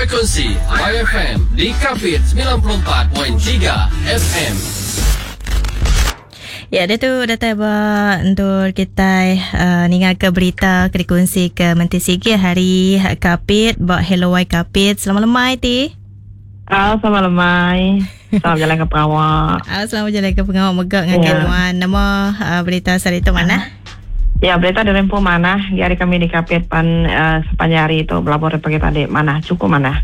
Frekuensi YFM di Kapit 94.3 FM. Ya, dia tu datai ba endur kitai uh, ninga ke berita ke dikunsi ke Menteri Sigi hari Kapit ba Hello Y Kapit. Selamat lemai ti. Ah, selamat lemai. Selamat berjalan ke pengawa. Ah, selamat berjalan ke pengawa mega ngagai ya. nuan. Nama uh, berita sehari tu manah? Ya, berita dari Rempu manah. Di hari kami di Kapit pan uh, sepanjang hari tu belabur dari pagi tadi manah, cukup manah.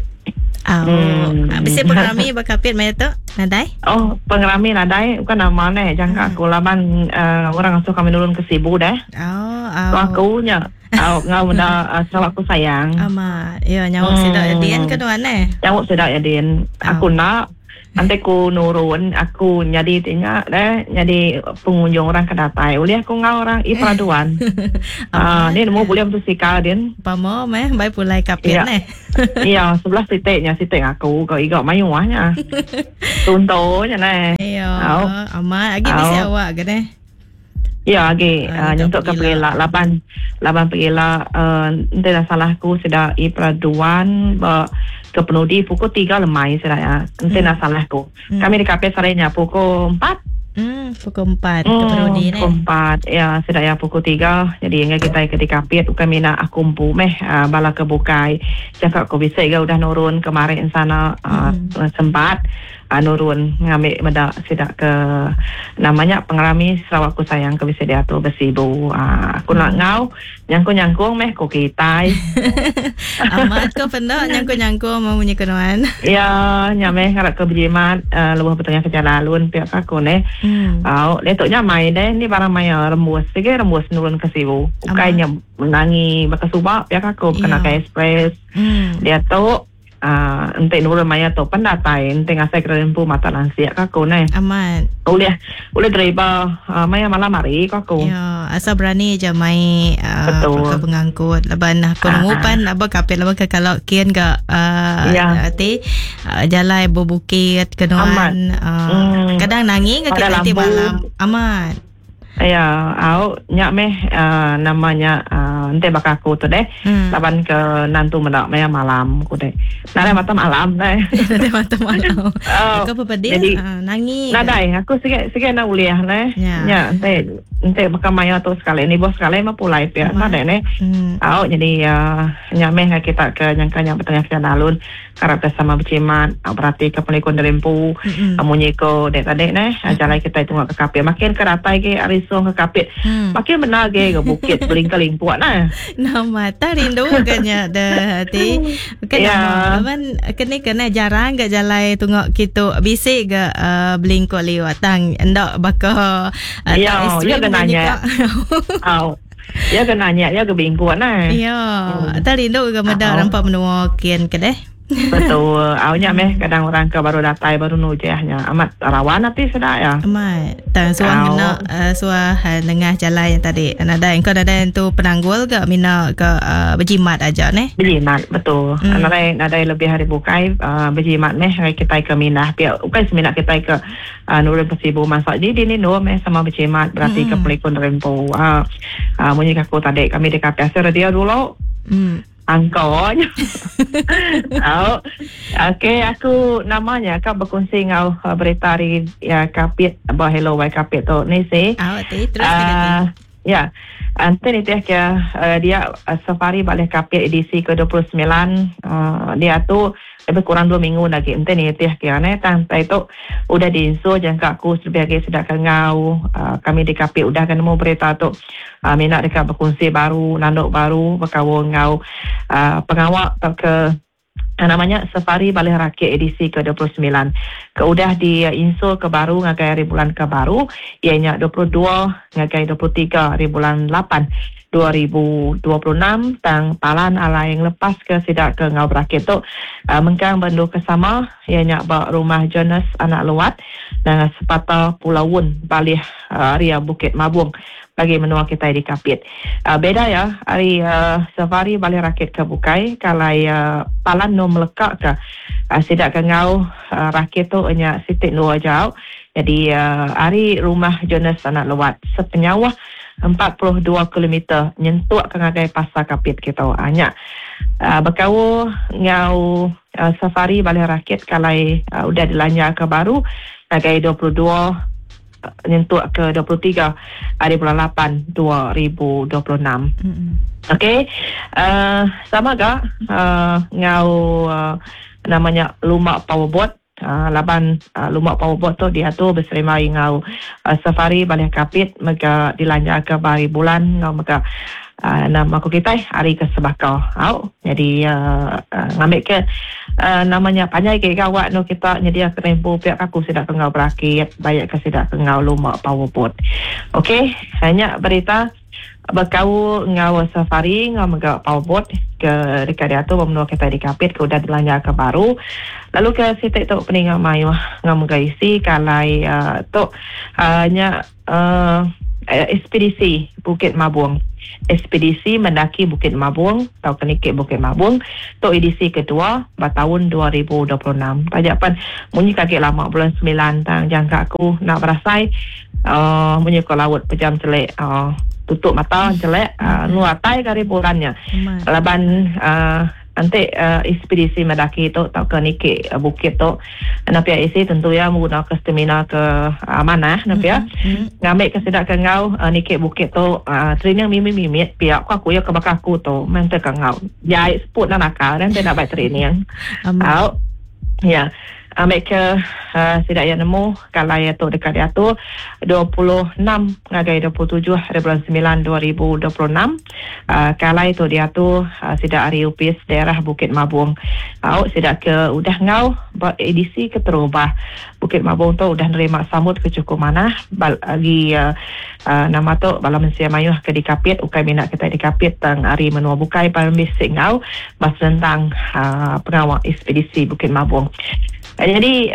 Oh, hmm. Bisi pengerami ba Kapit maya tu? Nadai? Oh, pengerami nadai. Bukan nama ne, jangka aku laban uh, orang asuh kami nurun ke Sibu deh. Oh, oh. Aku nya. Au ngau meda uh, Sarawak ku sayang. Amat. Ya nyawa hmm. sida Din ke tuan eh? Nyawa sida Din. Aku oh. nak nanti ku nurun aku nyadi tinga deh nyadi pengunjung orang ke datai ulih aku ngau orang i peraduan. Ah uh, ni nemu boleh motosikal din. Pamo meh bai pulai kapit ya. neh. Iya, sebelah sitiknya sitik aku kau iga mayuh nya. Contohnya neh. Iya. Amat agi bisi awak ke neh. Iya agi uh, nyentuk ke pegila laban laban pegila uh, enti dah salah aku sida i peraduan ba ke penudi pukul 3 lemai sida ya. Enti dah salah aku. Kami di kafe sehari nya pukul 4. Pukul 4 ke penudi ne. Pukul 4 ya sida ya pukul 3. Jadi enggai kitai ke dikapit bukan mina aku empu meh uh, bala ke bukai. Jangka aku bisi ga udah nurun kemari ensana uh, sempat nurun ngambi meda sida ke nama nya pengerami Sarawak Ku Sayang ke bisi diatur ba Sibu. Aku enda enggau nyangkung-nyangkung meh ku kitai. Amat ko penda nyangkung-nyangkung meh munyi ke nuan. Iya nya meh ngarap ke bejimat lebuh betengah ke jalai alun pia ka aku neh. Au diatu nya mai deh ni barang maya rembus sige rembus nurun ke Sibu. Ukai nya menangi baka suba pia ka aku kena ke express. Diatu Aaa enti nurun maya tu pen datai enti ngasai ke empu mata lansik ka aku neh. Amat. Ulih ulih deriba aaa maya malam hari ko aku. Ya asal berani aja mai aaa Betul. pengangkut laban aku nemu pan aba kapit laban ke kalau kin ga aaa Ya. ti jalai bebukit ke nuan aaa kadang nangi ga Pada kita ti lampu. malam. Amat. Iya, au nya meh uhh nama nya uhh enti baka aku tu deh laban ke nantu meda maya malam ku deh. Nadai mata malam deh. Nadai mata malam. Au Aku pepedih jadi nangi. Nadai aku sige sige enda ulih neh. Nya enti enti baka maya tu sekali nibuh sekali meh pulai pia nadai neh. Au jadi uhh nya meh ngagai kita ke nyangka nya betengah ke alun. Arap ke sama bejimat berati ke pelikun diri empu munyi ko dek tadi neh jalai kitai tunga ke Kapit makin ke datai agi ari Song ke Kapit makin bendar agi ga bukit belingka lingkuk neh. Nama tah rindu ga nya deh ti bukan nama laban keni ke neh jarang ga jalai tunga kitu bisi ga belingkuk liut tang enda baka tak ekstrim munyi ka. Au. Iya ke nanya, iya ke bingkuk nah. Iya, tak rindu ke meda rampa menua kin ke deh. Betul. Au nya meh kadang orang ke baru datai baru nujah nya amat rawan ati sida iya. Amat. Tang suah ngena uh, suah uh, nengah jalai yang tadi. Nadai engkau nadai entu penanggul ga mina ke uh, berjimat aja neh. Berjimat betul. Nadai nadai lebih hari bukai uh, berjimat meh hari kitai ke mindah pia ukai semina kitai ke Nurun ke Sibu masak ji dini endur meh sama bejimat berati ke pelikun diri empu. Aaa munyi ke aku tadi kami di Kapit asil radio dulu. Angko nya. Au. Okey aku nama nya ka bekunsi enggau berita ari Kapit ba Hello Wai Kapit tu ni si. Au ti terus ke ti. Ya. Enti nitih ke dia safari balih Kapit edisi ke 29 diatu lebih kurang dua minggu enda agi enti nitih ke neh tang tai tu udah diinsur jangka aku lebih agi sida ke enggau kami di Kapit udah ga nemu berita tu mina deka bekunsi baru nandu baru bekaul enggau pengawa tauka Nama nya Safari Balih Rakit edisi ke 29 ke udah diinsul ke baru ngagai hari bulan ke baru iya nya 22 ngagai 23 hari bulan lapan 2026 tang palan alai ngelepaska sida ke enggau berakit tu mengkang ba endur ke sama iya nya ba Rumah Jonas Anak Luat nanga Sepata Pulau Wun Balih Area Bukit Mabong bagi menua kitai di Kapit. Beda iya ari safari balih rakit ke bukai ke alai palan endur meleka ke sida ke enggau rakit tu nya siti endur aja. Nyadi ari Rumah Jonas Anak Luat sepenyauh 42 kilometer nyentuk ke ngagai Pasar Kapit kitu. Nya bekaul enggau safari Baleh Rakit ke alai udah dilanjarka baru ngagai 22 nyentuk ke 23 hari bulan 8 2026. Okey, sama ga enggau nama nya lumba powerboat laban lumba powerboat tu diatur beserimbai enggau safari Baleh Kapit mega dilanjarka ba hari bulan enggau mega nama ku kitai hari ke sebaka. Au nyadi ngambika nama nya panjai agi gawa anu kita nyediaka rempu pia ka aku sida ke enggau berakit baik ka sida ke enggau lumba powerboat. Okey nya berita bekaul enggau safari enggau mega powerboat ke deka diatur ba menua kitai di Kapit ke udah dilanjarka baru. Lalu ke siti tu peninga mayuh enggau mega isi ke alai tu nya Ekspedisi Bukit Mabong. Ekspedisi mendaki Bukit Mabong tauka niki Bukit Mabong tu edisi kedua ba taun 2026. Taja pen munyi ke agi lama bulan semilan tang jangka aku enda berasai munyi ko laut pejam chelek tutup mata chelek enu atai ke hari bulan nya laban Enti ekspedisi mendaki tu tauka niki bukit tu enda pia isi tentu iya begunaka stamina ke manah enda pia. Ngambika sida ke enggau niki bukit tu training mimit-mimit pia ku aku iya ke baka aku tu meh enti ke enggau jai seput enda nakal enti enda bai training. Au ya. Ambi ke sida iya nemu kalai iya tu deka diatur 26 ngagai 27 hari bulan semilan 2026. Kalai tu diatur sida ari Opis Daerah Bukit Mabong. Au sida ke udah enggau ba edisi keterubah Bukit Mabong tu udah nerima sambut ke chukup manah agi nama tu bala mensia mayuh ke dikapit ukai mina kitai dikapit tang ari menua bukai pan bisi enggau. Ba senentang pengawa ekspedisi Bukit Mabong. Nyadi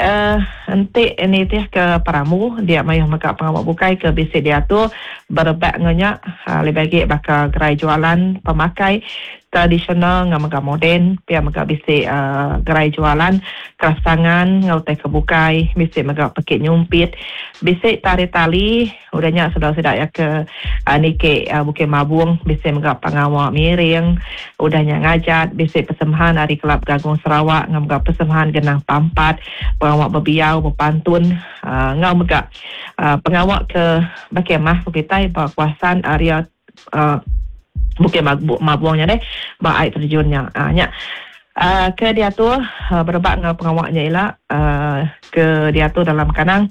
enti nitih ke perambu dia mayuh mega pengawa bukai ke bisi diatur berebak enggau nya lebih agi baka gerai jualan pemakai tradisional enggau mega moden pia mega bisi gerai jualan kraftangan enggau utai ke bukai bisi mega pekit nyumpit bisi tarik tali. Udah nya sebedau sida iya ke niki Bukit Mabong bisi mega pengawa miring, udah nya ngajat bisi persembahan ari Kelab Gagung Sarawak enggau mega persembahan Genang Pampat, pengawa bebiau, bepantun enggau mega pengawa ke bekemah ku kitai ba kawasan area Bukit Mabong nya deh ba ai terjun nya. Nya ke diatur berebak enggau pengawa nya ila ke diatur dalam kandang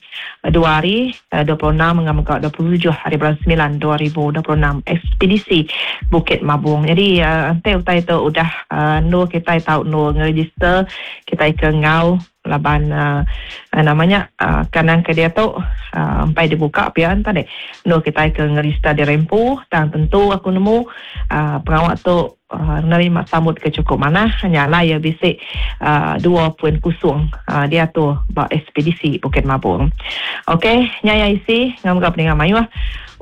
dua hari 26 enggau mega 27 hari bulan semilan 2026 Ekspedisi Bukit Mabong. Nyadi enti utai tu udah endur kitai tau endur ngerejister kitai ke enggau Laban nama nya kandang ke diatu empai dibuka pia enta deh endur kitai ke ngerista diri empu tang tentu aku nemu pengawa tu nerima sambut ke chukup manah nya alai iya bisi 2.0 diatur ba ekspedisi Bukit Mabong. Ok nya iya isi enggau mega peninga mayuh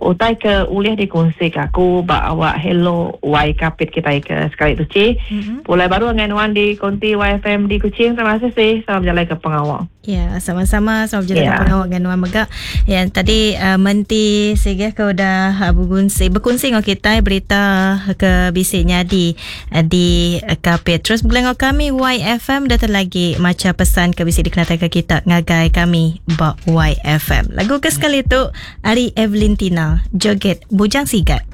utai ke ulih dikunsi ke aku ba awak Hello Y Kapit kitai ke sekali tu ci. Pulai baru angai nuan di konti YFM di Kuching. Terima kasih si sama bejalai ke pengawa. Ya, sama-sama sama bejalai ke pengawa dengan nuan mega. Ya, tadi menti sigih ke udah bekunsi bekunsi enggau kitai berita ke bisi nyadi di Kapit. Terus begulai enggau kami YFM datang lagi macha pesan ke bisi dikenatai ke kita ngagai kami ba YFM. Lagu ke sekali tu ari Evelyn Tina, Joget Bujang Sigat.